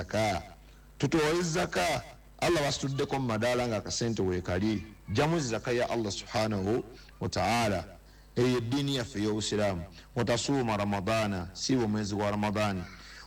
zaka, tutoole zaka. Allah basituddeko mu madaala nga akasente weekali, jjamu zaka ya Allah subhanahu wataala. Eyo eddiini yaffe ey'obusiraamu. Watasuuma Ramadaana, siiba omwezi gwa Ramadaani.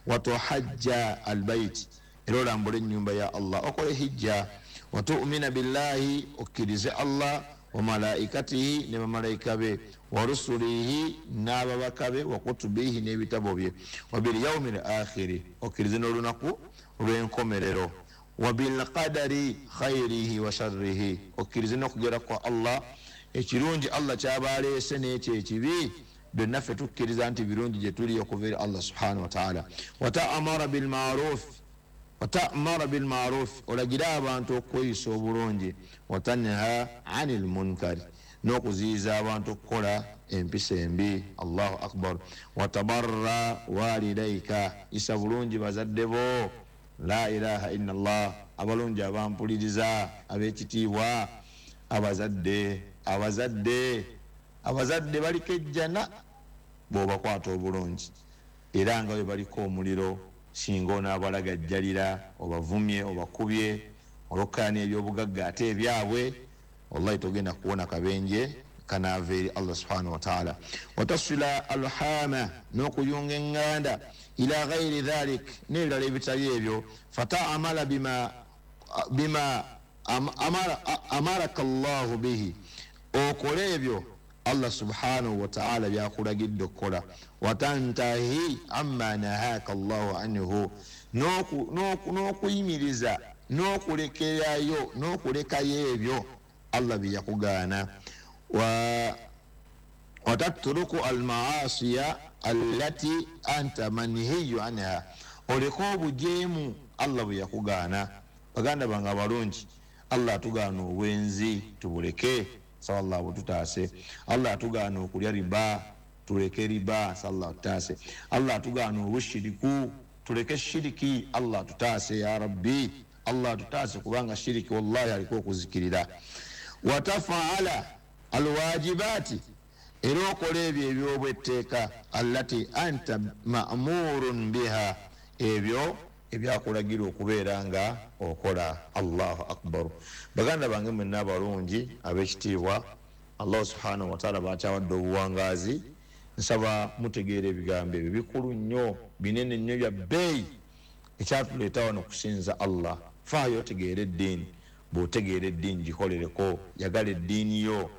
Watuhajja albaiti, era olambule ennyumba ya Allah, okole hijja. Watumina billahi, okkirize Allah, wa malaikatihi, ne bamalayika be, wa rusulihi, n'ababaka be, wa kutubihi, n'ebitabo bye, wa bilyaumi l akhiri, okkirize n'olunaku lw'enkomerero, wa bilqadari khairihi wa sharrihi, okkirize n'okugera kwa Allah, ekirungi Allah kyaba aleese n'ekyo ekibi, byonna ffe tukkiriza nti birungi gye tuli okuva eri Allah subhanahu wataala. Watamara bilmaruf, watamara bilmaruf, olagire abantu okweyisa obulungi. Watanha ani lmunkari, n'okuziyiza abantu okukola empisa embi. Allahu akbar. Watabarra walidaika, isa bulungi bazadde bo. La ilaha illa llah. Abalungi abampuliriza ab'ekitiibwa, abazadde, abazadde, abazadde baliko ejjana bw'obakwata obulungi, era nga bwe baliko omuliro singa onaabalagajjalira, obavumye, obakubye olwokkaana ebyobugagga ate ebyabwe, wallahi togenda kuwona kabenje kanaava eri Allah subhanahu wataala. Watasila alhama, n'okuyunga eŋŋanda, ila ghairi dhalik, n'ebirala ebitali ebyo. Fataamala bima amaraka llahu bihi, okole ebyo Allah subhanahu wataala byakulagidde okukola. Watantahi amma nahaka llahu anhu, n'okuyimiriza n'okulekerayo n'okulekayo ebyo Allah byeyakugaana. Watatruku almaasiya allati anta manhiyu anha, oleke obujeemu Allah bwe yakugaana. Baganda bange abalungi, Allah atugaana obwenzi, tubuleke, sala bututaase. Allah atugaana okulya riba, tuleke riba, sala tutaase. Allah atugaana obushiriku, tuleke shiriki, Allah atutaase. Ya rabbi, Allah atutaase, kubanga shiriki wallahi aliko okuzikirira. Watafaala alwajibaati, era okola ebyo ebyobwetteeka, allati anta mamurun biha, ebyo ebyakulagira okubeera nga okola. Allahu akbar. Baganda bange mwenna abalungi ab'ekitiibwa, Allah subhanahu wataala bakyawadde obuwangaazi, nsaba mutegeera ebigambo ebyo bikulu nnyo, binene nnyo, bya bbeeyi. Ekyatuleeta wano kusinza Allah. Faayo otegeera eddiini. Bw'otegeera eddiini, gikolereko, yagala eddiini yo,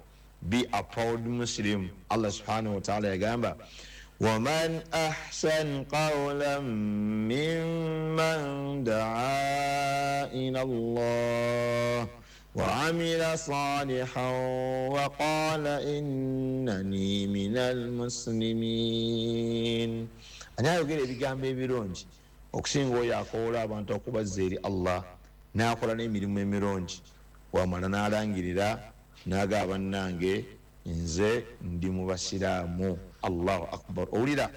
be a proud Muslim. Allah subhanahu wataala yagamba, waman ahsan qawlan mimman daa ila Allah وعمل صالحا وقال إنني من المسلمين. Ani ayogera ebigambo ebirungi okusinga oyo akoola abantu okubazza eri Allah, n'akola n'emirimu emirungi, wamala n'alangirira n'agaba, bannange nze ndi mu basiraamu. Allahu akbar. Owulira,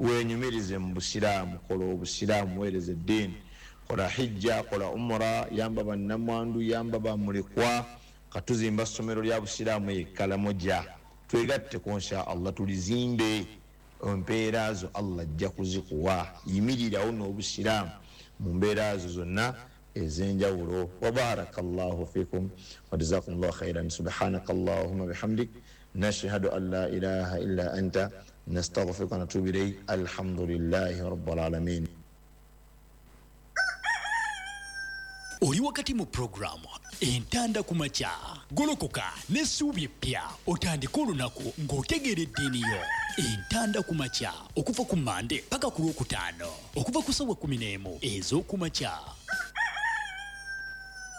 wenyumirize mu busiraamu, kola obusiraamu, weereza eddiini, kola hijja, kola umura, yamba bannamwandu, yamba bamulekwa. Katuzimba ssomero lya busiraamu ekalamoja, twegatteko insha Allah, tulizimbe. Empeera zo Allah ajja kuzikuwa. Yimirirawo n'obusiraamu mu mbeera zo zonna ez'enjawulo. Wabaraka llahu fikum wajazakum llahu khairan. Subhanaka allahuma bihamdik, nashhadu an la ilaha illa anta, nastaghfiruka wa natubu ilayk. Alhamdulillahi rabbil alamin. Oli wakati mu puroguramu Entanda ku Makya. Golokoka n'essuubi eppya, otandike olunaku ng'otegeera eddiini yo. Entanda ku Makya, okuva ku Mande paka ku Lwokutaano, okuva ku ssaawa 11 ez'okumakya.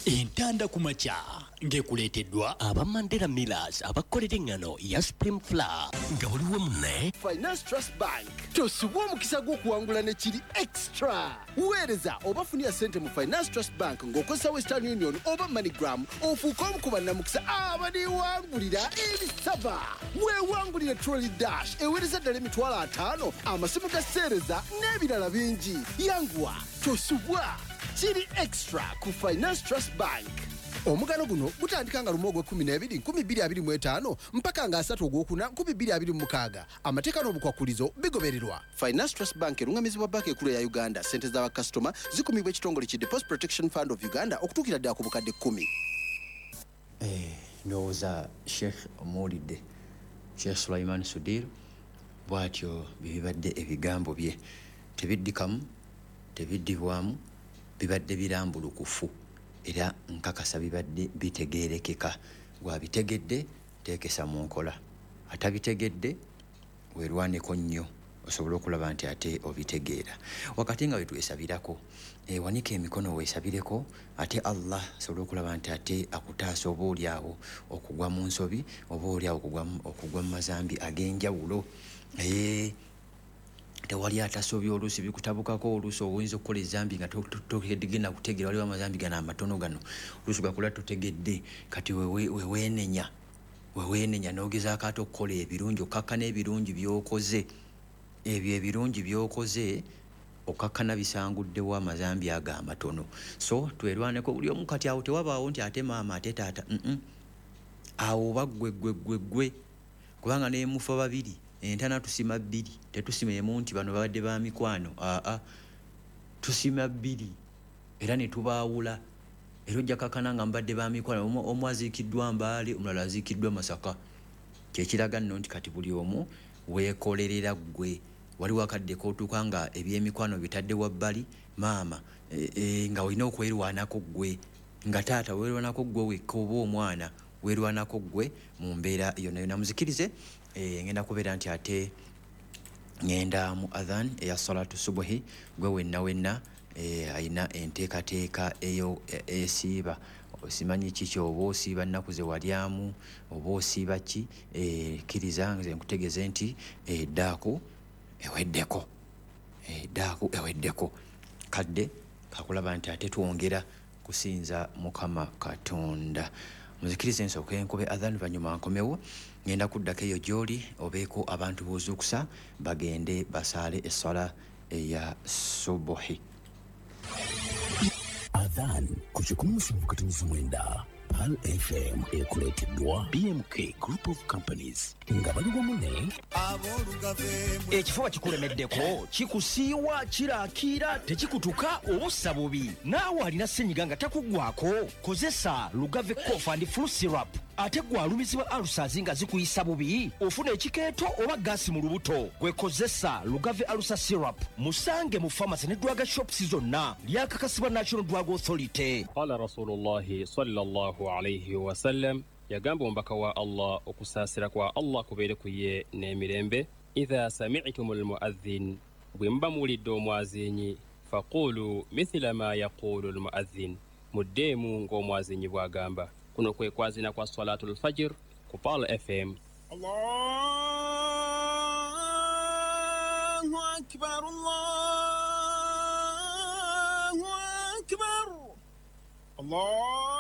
Entanda ku Makya ng'ekuleeteddwa aba Mandela Millers, abakolera eŋŋano ya Supreme Flour nga buli wamu ne Finance Trust Bank. Tosubwa omukisa gw'okuwangula ne kiri extra. Weereza oba funira ssente mu Finance Trust Bank ng'okozesa Western Union oba MoneyGram, ofuuke omu ku bannamukisa abaliwangulira ebisaba. Weewangulire Trolley Dash eweereza ddala 50,000, amasimu ga seereza n'ebirala bingi. Yanguwa, tosubwa, kiri extra ku Finance Trust Bank. Omugano guno gutandika nga 1 ogw'e12 2025 mpaka nga 3 ogwokuna 2026. Amateeka n'obukwakulizo bigobererwa. Finance Trust Bank erungamizibwa banka enkulu ya Uganda. Ssente za bakasitoma zikumibwa ekitongole ki Deposit Protection Fund of Uganda okutuukira ddala ku bukadde 10. Ndowooza Sheikh omuwulidde, Sheikh Sulaiman Sudir bw'atyo bye bibadde ebigambo bye. Tebiddikamu, tebiddibwamu, bibadde birambulukufu era nkakasa bibadde bitegeerekeka. Gwabitegedde teekesa mu nkola, atabitegedde weerwaneko nnyo osobole okulaba nti ate obitegeera. Wakati nga wetwesabirako, wanika emikono weesabireko ate Allah asobole okulaba nti ate akutaasa oba oli awo okugwa mu nsobi oba oli awo okugwa mu mazambi ag'enjawulo. Tewali atasobya, oluusi bikutabukako, oluusi oyinza okukola ezambi nga togenda kutegeera. Waliwo amazambi gano amatono gano oluusi gakola totegedde, kati weweenenya n'ogezaako ate okukola ebirungi, okkakkana ebirungi by'okoze. Ebyo ebirungi by'okoze okkakkana bisanguddewo amazambi ago amatono. So twerwaneko buli omu. Kati awo tewabaawo nti ate maama ate taata, awo oba ggwe ggwe ggwe ggwe, kubanga nemufa babiri entana tusima bbiri, tetusima emu nti bano babadde ba mikwano. Aa, tusima bbiri era ne tubaawula. Era ojja kakkana nga mbadde ba mikwano, omu aziikiddwa Mbaale, omulala aziikiddwa Masaka. Kyekiraga nno nti kati buli omu weekolerera ggwe. Waliwo akadde k'otuuka nga ebyemikwano bitadde wabbali, maama nga olina okwerwanako ggwe, nga taata weerwanako ggwe wekka, oba omwana weerwanako ggwe mu mbeera yonna yonna. Muzikirize, ngenda kubeera nti ate ngenda mu adhan eya salatu subuhi. Gwe wenna wenna alina enteekateeka eyo esiiba, simanyi kiki, oba osiiba nnaku ze walyamu oba osiiba ki, kkiriza nze nkutegeeze nti eddaaku eweddeko, eddaaku eweddeko. Kadde kakulaba nti ate twongera kusinza Mukama Katonda. Muzikirize nsooke nkube adhan, luvannyuma nkomewo. Ngenda kuddako eyo gy'oli obeeko abantu b'ozuukusa bagende basaale esswala eya subuhi. Adhan ku 107.9 Pearl FM ekuleeteddwa BMK Group of Companies nga bali wamu ne Ekifuba kikulemeddeko, kikusiiwa, kirakiira, tekikutuka oba ossa bubi. Naawe alina ssenyiga nga takuggwako, kozesa Lugave Cough and Flu Syrup. Ate gwe alumizibwa ulcers nga zikuyisa bubi, ofuna ekikeeto oba gaasi mu lubuto, gwe kozesa Lugave Ulcer Syrup. Musange mu pharmacy ne drug shops zonna. Lyakakasibwa National Drug Authority. Qala Rasulullahi sallallahu alaihi wasallam, yagamba omubaka wa Allah okusaasira kwa Allah kubeere ku ye n'emirembe, idha sami'tum almuadhin, bwe muba muwulidde omwazinyi, faqulu mithila ma yaqulu almuadhin, muddeemu ng'omwazinyi bw'agamba. Kuno kwe kwazina kwa salatul fajr ku Pearl FM. Allahu akbar, Allahu akbar, Allahu